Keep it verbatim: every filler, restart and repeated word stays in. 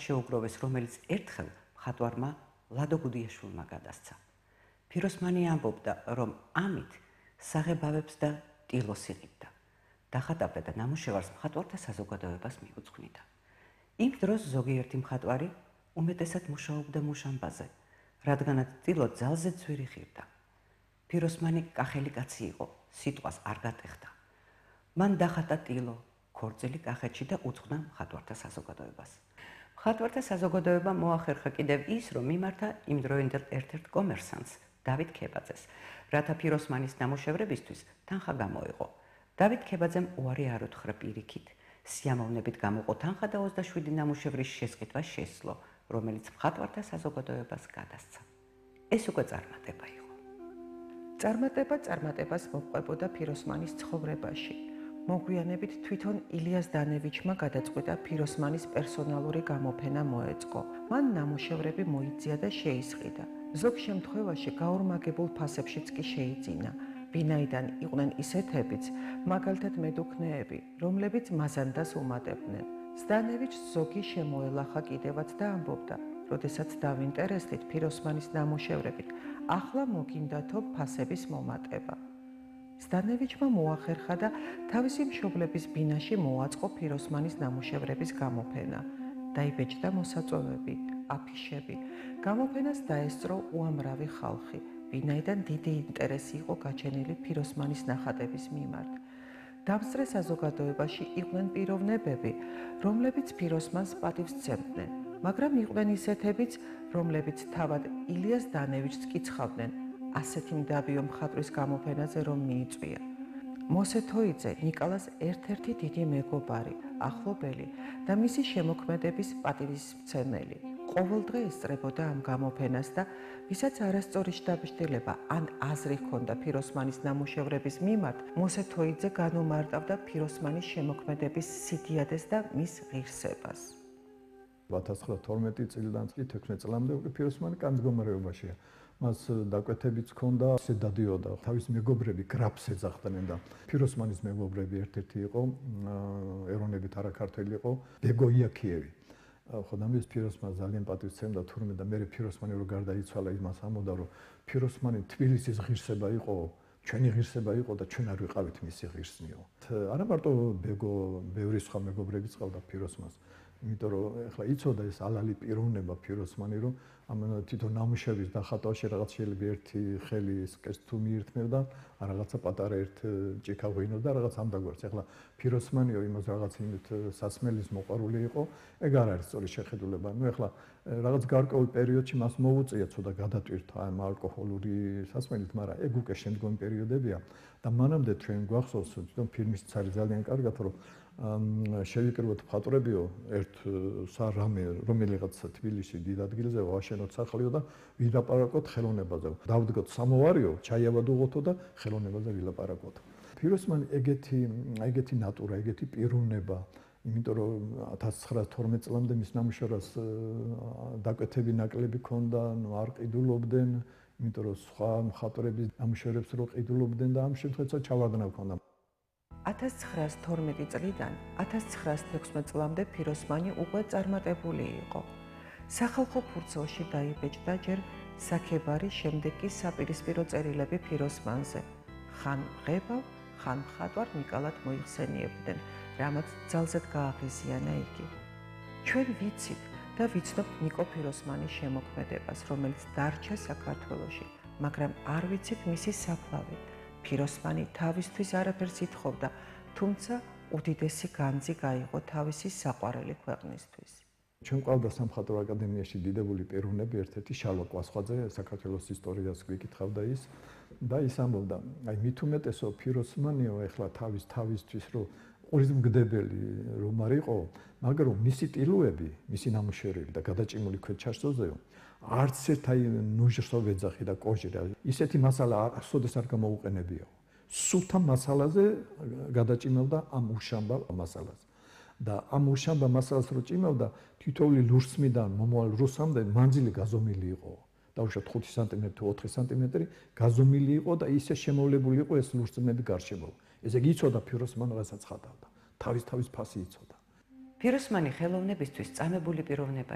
შეუგროვეს, რომელიც ერთხელ მხატვარმა ლადო გუდიაშვილმა გადასცა. ფიროსმანი ამბობდა, რომ ამით საღებავებს და ტილოს იღებდა. დახატავდა და ნამუშევარს მხატვართა საზოგადოებას მიუძღვნიდა. იმ დროს ზოგიერთი მხატვარი უმეტესად მუშაობდა მუშამბაზე, რადგანაც ტილო ძალზე ძვირი ხირდა. ფიროსმანი კახელი კაცი იყო, სიტყვას არ გატეხდა. მან დახატა ტილო, ქორწილი კახეთში და უძღვნა მხატვართა საზოგადოებას. მხატვართა საზოგადოება მოახერხა კიდევ ის, რომ მიმართა იმდროინდელ ერთ-ერთ კომერსანტს, დავით ქებაძეს, რათა ფიროსმანის ნამუშევრებისთვის თანხა გამოეღო. დავით ქებაძემ უარი არ უთხრა პირიქით. სიამოვნებით გამოყო თანხა და ოცდაშვიდი ნამუშევრის შესყიდვა შესძლო, რომელიც მხატვართა საზოგადოებას გადასცა. ეს უკვე წარმატება იყო. წარმატება წარმატებას მოჰყვებოდა ფიროსმანის ცხოვრებაში. მოგვიანებით თვითონ ილიას დანევიჩმა გადაწყვიტა ფიროსმანის პერსონალური გამოფენა მოეწყო. მან ნამუშევრები მოიძია და შეისყიდა. ზოგ შემთხვევაში გაორმაგებულ ფასებშიც კი შეიძინა. ვინაიდან იყვნენ ისეთებიც, მაგალითად მედუქნეები, რომლებიც მაზანდას უმატებდნენ. ზდანევიჩს ზოგი შემოელახა კიდევაც და ამბობდა, როდესაც დავინტერესდით ფიროსმანის ნამუშევრებით, ახლა მოგინდათო ფასების მომატება. ზდანევიჩმა მოახერხა და თავისი მშობლების ბინაში მოაწყო ფიროსმანის ნამუშევრების გამოფენა. დაიბეჭდა მოსაწვევები, აფიშები. გამოფენას დაესწრო უამრავი ხალხი, ვინაიდან დიდი ინტერესი იყო გაჩენილი ფიროსმანის ნახატების მიმართ. დამსწრე საზოგადოებაში იყვნენ პიროვნებები, რომლებიც ფიროსმანს პატივს სცემდნენ, მაგრამ იყვნენ ისეთებიც, რომლებიც თავად ილიას დანევიჩს კიცხავდნენ, ასეთი მდაბიო მხატვრის გამოფენაზე რომ მიიწვია. მოსე თოიძე ნიკალას ერთ-ერთი დიდი მეგობარი, ახლობელი და მისი შემოქმედების პატივისმცემელი. ყოველდღე ესწრებოდა ამ გამოფენას და ვისაც არასწორი შთაბეჭდილება ან აზრი ჰქონდა ფიროსმანის ნამუშევრების მიმართ, მოსე თოიძე განუმარტავდა ფიროსმანის შემოქმედების სიდიადეს და მის ღირსებას. ათას ცხრაასი წლიდან თექვსმეტ წლამდე უკვე ფიროსმანი კანდგომარეობაშია. მას დაკვეთებიც ჰქონდა, ისე დადიოდა, თავის მეგობრები გრაფს ეძახდნენ და ფიროსმანის მეგობრები ერთ-ერთი იყო, ეროვნებით არაქართველი იყო, ბეგო იაქიევი. ხო და მის ფიროსმანს ძალიან პატივს სცემდა თურმე და მე ფიროსმანი რო გარდაიცვალა, იმას ამბობდა, რომ ფიროსმანი თბილისის ღირსება იყო, ჩვენი ღირსება იყო და ჩვენ არ ვიყავით მისი ღირსნიო. არა მარტო ბეგო, ბევრი სხვა მეგობრებიც ყავდა ფიროსმანს. იმიტომ რომ ეხლა იცოდა ეს ალალი პიროვნება ფიროსმანი, რომ ამ თვითონ ნამუშევრის დახატვაში რაღაც შეიძლება ერთი ხელი სკერს თუ მიირთმევდა, რაღაცა პატარა ერთ ჭიქა ღვინოდა, რაღაც ამდაგვარს. ეხლა ფიროსმანიო იმას რაღაც იმით სასმელის მოყვარული იყო, ეგ არ არის სწორი შეხედულება. ნუ ეხლა რაღაც გარკვეულ პერიოდში მას მოუწია ცოტა გადატვირთვა ამ ალკოჰოლური სასმელით, მაგრამ ეგ უკვე შემდგომი პერიოდებია და მანამდე ჩვენ გვახსოვს თვითონ ფილმის არის ძალიან კარგად, რომ შევიკრიბოთ მხატვრებიო ერთ სარამე რომელიღაც თბილისში დიდ ადგილზე ვაშენოთ სახლიო და ვილაპარაკოთ ხელოვნებაზე. დავდგოთ სამოვარიო, ჩაიავადუღოთო და ხელოვნებაზე ვილაპარაკოთ. ფიროსმანი ეგეთი ეგეთი ნატურა, ეგეთი პიროვნება, იმიტომ რომ ათას ცხრაასი წლამდე მის ნამუშევრას დაკვეთები ნაკლები ქონდა, ნუ არ ყიდულობდნენ, იმიტომ რომ სხვა მხატვრების ნამუშევრებს რო ყიდულობდნენ და ამ შემთხვევაში ჩავარდნა ქონდა. ათას ცხრაასი თორმეტი წლიდან ათას ცხრაასი თექვსმეტ წლამდე ფიროსმანი უკვე წარმატებული იყო. სახალხო ფურცელში დაიბეჭდა ჯერ საქებარი, შემდეგ კი საპირისპირო წერილები ფიროსმანზე. ხან მღებავ, ხან მხატვარ ნიკალად მოიხსენიებდნენ, რამაც ძალზედ გააღიზიანა იგი. ჩვენ ვიცით და ვიცნობთ ნიკო ფიროსმანის შემოქმედებას, რომელიც დარჩა საქართველოში, მაგრამ არ ვიცით მისი საფლავი. ფიროსმანი თავისთვის არაფერს ითხოვდა, თუმცა უდიდესი განძი გაიღო თავისი საყვარელი ქვეყნისთვის. ჩვენ ყავდა სამხატვრო აკადემიაში დიდებული პიროვნები, ერთ-ერთი შალვა კვასხვაძე, საქართველოს ისტორიას გვიკითხავდა ის და ის ამბობდა, აი მით უმეტესო ფიროსმანიო ეხლა თავის თავისთვის რომ ყურისმგდებელი რომ არ იყო, მაგრამ მისი ტილოები, მისი ნამუშევრები და გადაჭიმული ქვეჩარსოზეო, არც ერთ აი ნუჟრსო ვეძახი და კოჟირა, ისეთი მასალა არასოდეს არ გამოუყენებიო. სულთა მასალაზე გადაჭიმავდა ამ უშამბა მასალას. და ამ უშამბა მასალას რო ჭიმავდა, თითოეული ლურსმიდან მომავალ რუსამდე მანძილი გაზომილი იყო. დაუშვათ ხუთი სანტიმეტრი თუ ოთხი სანტიმეტრი გაზომილი იყო და ისე შემოვლებული იყო ეს ლურსმნები გარშემო. ესე იგი იცოდა ფიროსმანი რასაც ხატავდა. თავის თავის ფასი იცოდა. ფიროსმანი ხელოვნებისთვის წამებული პიროვნება